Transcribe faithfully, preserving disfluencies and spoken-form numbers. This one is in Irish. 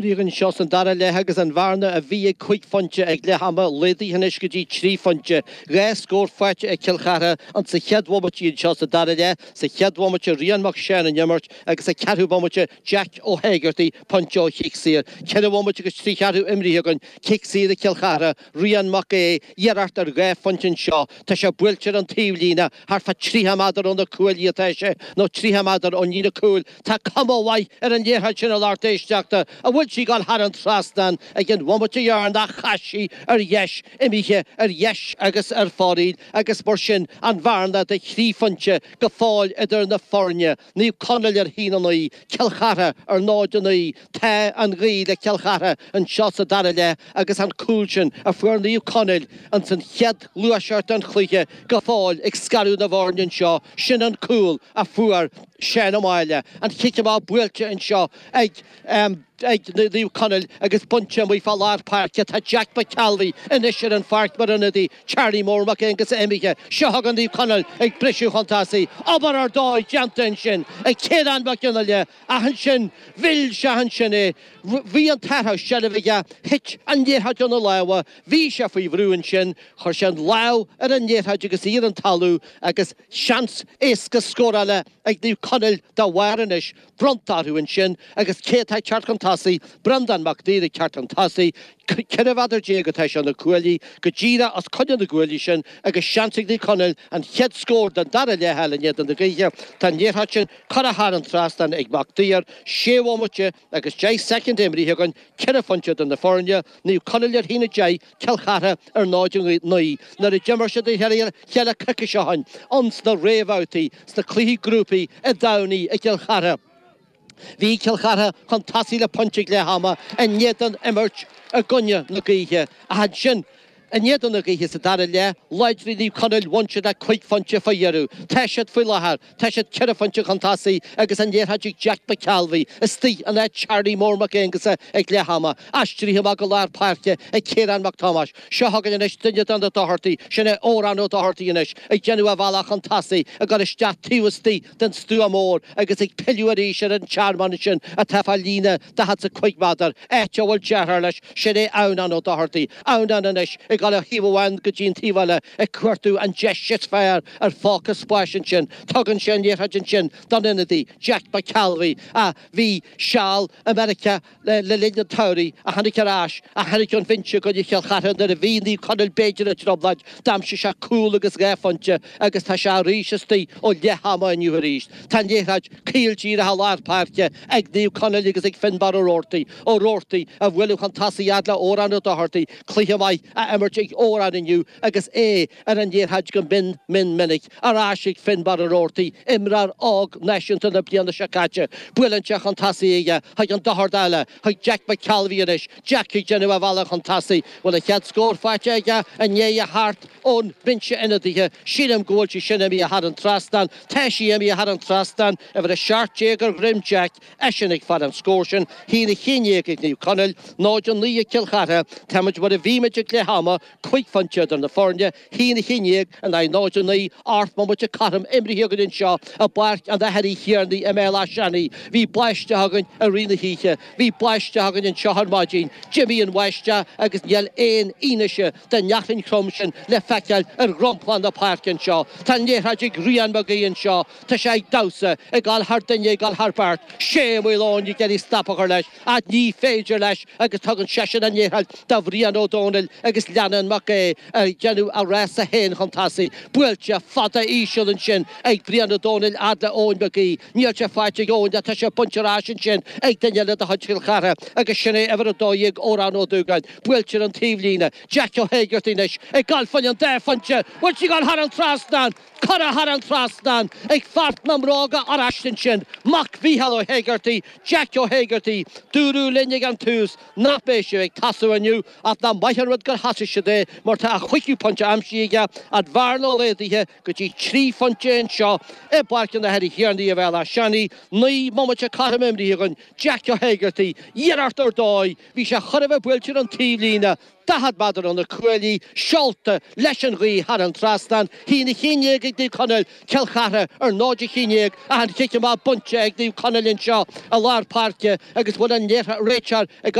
Anseo san dara leath agus an bhearna a bhí ag cúig phointe ag leath ama laghdaithe anois go dtí trí phointe. Dhá scór faighte ag Cill Chartha an sa chéad bhomaite anseo sa dara leath, sa chéad bhomaite Rian Mac Seáin an imirt agus sa ceathrú bomaite Jack Ó hÉigeartaigh pointe ó chic saor. Ceithre bhomaite agus trí cheathrú imrithe againn, cic saor ag Cill Chartha, Rian Mac Aodha, iarracht ar dhá phointe anseo. Tá sé buailte ar an taobhlíne, thart fá tríocha méadar ó na cuaillí atá sé, nó tríocha méadar ón líne cúil. Tá cuma mhaith ar an liathróid sin a lucht éisteachta, an bhfuil sí ag dul thar an trasnán ag an bhomaite dheireanach chas sí ar dheis, imithe ar dheis agus ar fóraoil agus mar sin an bhearna de thrí phointe go fóill idir na foirne. Naomh Conaill ar haon a naoi, Cill Chartha ar náid a naoi. Tá an ghaoth le Cill Chartha anseo sa dara leath agus an cúl sin a fuair Naomh Conaill ins an chéad ghluaiseacht den chluiche go fóill ag scaradh na bhfoirne anseo. Sin an cúl a fuair Seán Ó Máille. An chic amach buailte anseo ag ag Naomh Conaill agus bainte amuigh fá lár páirce. Tá Jack McCalvey anois ar an pháirc mar ionadaí. Charlie Mór Mac Aonghusa imithe. Seo chugainn Naomh Conaill ag briseadh chun tosaigh. Obair ar dóigh déanta ansin ag Ciarán Mac Fhionnghaile ach ansin mhill sé ansin é. Bhí an t-athrú seilbhe aige. Thit an liathróid óna lámha. Bhí sé faoi bhrú ansin. Chuir sé an lámh ar an liathróid agus í ar an talamh agus seans éasca scórála ag Naomh Conaill dá bharr anois. Bronnta orthu ansin agus cé atá ag teacht chun tosaigh? Breandán Mac Duibhir ag teacht chun tosaigh. Ceithre mhéadar déag atá sé ó na cuaillí, go díreach os coinne na gcuaillí sin agus seans ag Naomh Conaill an chéad scór den dara leath a fháil in éadan na gaoithe. Tá an liathróid sin curtha thar an trasnán ag Mac Duibhir. Sé bhomaite agus deich soicind imrithe againn, ceithre phointe idir na foirne, Naomh Conaill ar haon a deich, Cill Chartha ar náid a naoi. Nuair a d'imir siad a chéile coicís ó shin ins na réamhbhabhtaí sna cluichí grúpaí i dTamhnaigh i gCill Chartha, bhí Cill Chartha chun tosaigh le pointe ag leath ama in éadan imirt i gcoinne na gaoithe. Ach ansin, in éadan na gaoithe sa dara leath, láidrigh Naomh Conaill, bhain siad le cúig phointe fá dheireadh. Tá siad faoi láthair, tá siad ceithre phointe chun tosaigh agus an liathróid ag Jack McCalvey istigh in áit Charlie Mór Mac Aonghusa ag leath ama. Aistrithe amach go lár páirce ag Ciarán Mac Tomáis. Seo chugainn anois duine de na Dochartaigh, sin é Odhrán Ó Dochartaigh anois, ag déanamh a bhealach chun tosaigh, ag dul isteach taobh istigh den stua mór agus ag pilleadh arís ar an tearmann ansin atá fá líne daichead is a cúig méadar, áit a bhfuil deartháir leis, sin é Adhamhnán Ó Dochartaigh. Adhamhnán anois ag dul ó thaobh amháin go dtí an taobh eile ag cuartú an deis is fearr ar phóca spáis ansin. Tugann sé an liathróid ansin don ionadaí, Jack McCalvey, a bhí seal i Meiriceá le linn an tsamhraidh, a tháinig ar ais, a tháinig ón bhinse i gcoinne Chill Chartha nuair a bhí Naomh Conaill b'fhéidir i dtrioblóid. D'aimsigh sé cúl agus dhá phointe agus tá sé arís istigh ó leath ama inniu arís. Tá an liathróid caol díreach i lár páirce ag Naomh Conaill agus ag Finbarr Ó Roarty. Ó Roarty a bhualadh chun tosaigh fhad le Odhrán Ó Dochartaigh. Cluiche maith á imirt ag Odhrán inniu agus é ar an liathróid go mion mion minic. Ar ais ag Finbarr Ó Roarty, imreoir óg náisiúnta na bliana seo caite. Buaileann sé chun tosaigh aige chuig an Dochart eile, chuig Jack McCalvey anois. Jack ag déanamh a bhealach chun tosaigh. Bhfuil a chéad scór faighte aige i ndiaidh a theacht ón mbinse ionadaithe? Sílim go bhfuil sí sin imithe thar an trasnán. Tá sí imithe thar an trasnán. Uimhir a seacht déag ar dhroim Jack, eisean ag fáil an scór sin. Haon a haon déag ag Naomh Conaill, náid a naoi ag Cill Chartha. Táimid mar a bhí muid ag leath ama, cúig phointe idir na foirne, haon a haon déag in aghaidh náid a naoi, ocht mbomaite cothrom imrithe againn anseo i bPáirc an Athar Uí Thiarnaigh i mBéal Átha Seanaidh. Bhí báisteach againn i rith na hoíche. Bhí báisteach againn anseo ar maidin. D'imigh an bháisteach agus níl aon fhianaise den fhearthainn throm sin le feiceáil ar dhromchla na páirce anseo. Tá an liathróid ag Rian Mag Aoidh anseo. Tá sé ag damhsa, ag dul thar duine, ag dul thar beirt. Sé Ó Maoileoin ag iarraidh stop a chur leis, ach ní féidir leis agus tugann seisean an liathróid do Bhrian Ó Domhnaill agus leanann Mac Aodh ag déanamh a rása féin chun tosaigh. Buailte fada íseal ansin ag Brian Ó Domhnaill fhad le Eoin Mag Aoidh. Níl sé faighte ag Eoin ach tá sé bainte ar ais ansin ag duine eile de chuid Chill Chartha agus sin é uimhir a dó dhéag Odhrán Ó Dúgáin. Buailte ar an taobhlíne. Jack Ó hÉigeartaigh anois ag gabháil fá choinne an dá phointe. Bhfuil sí ag gabháil thar an trasnán? Curtha thar an trasnán ag fear na mbróga oráiste ansin, mac Mhícheál Ó hÉigeartaigh, Jack Ó hÉigeartaigh. Dúradh linn ag an tús nach mbeidh sé ag tosú inniu ach nach maith an rud gur thosaigh siad é mar tá a chúigiú pointe aimsithe aige, an bhearna laghdaithe go dtí trí phointe anseo i bPáirc an Athar Uí Thiarnaigh i Bhéal Átha Seanaidh. Naoi mbomaite cothrom imrithe againn. Jack Ó hÉigeartaigh, iarracht ar dóigh, bhí sé chóir a bheith buailte ar an taobhlíne. daichead méadar ó na cuaillí, seolta leis an ghaoth thar an trasnán. A haon a haon déag ag Naomh Conaill, Cill Chartha ar náid a haon déag ach an chic amach bainte ag Naomh Conaill anseo i lár páirce agus bhfuil an réiteoir ag